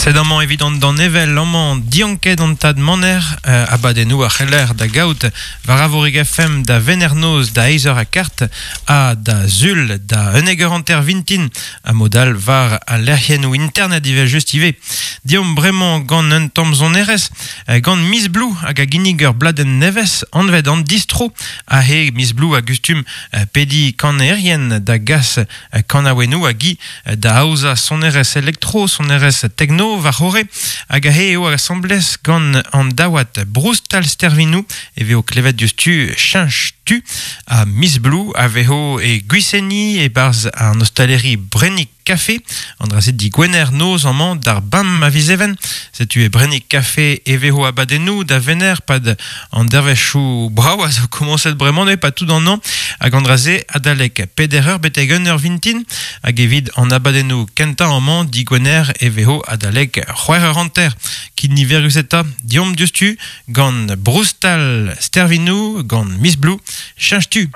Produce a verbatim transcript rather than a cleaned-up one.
Sed amañ evit an danevell amañ dianket an tad maner euh, abadennoù ar c'heller da gaout war Arvorig F M da Venernoz da eizh eur ha kart ha da Zul da unnek eur hanter vintin ha modal war al lec'hiennoù internet ivez just ivez. Diomp bremañ gant un tamm sonerezh, euh, gant Miss Blue hag a ginnig ur bladenn nevez anvet an distro a he Miss Blue a gustum euh, pedi kanerien da gas euh, kanaouennoù hag i euh, da aozañ sonerezh elektro, sonerezh techno war c'horre hag a he eo asamblez gant an daouad Broustal Stervinou e veo klevet diouzhtu cheñch tu a Miss Blue a vezo e Gwiseni e barz an ostaleri Brennig Café an dra-se di Gwener noz amañ d'ar bam a vizeven setu e Brennig Café e vezo abadennoù da vener pad an dervezhioù brav a zo komañset bremañ ne pas tout an an hag an dra-se adalek peder eur betek un eur vintin hag evit an abadennoù kentañ amañ di Gwener e vezo adalek c'hwec'h eur hanter kin niverus eta diomp diouzhtu gant Broustal Stervinou gant Miss Blue cheñch tu.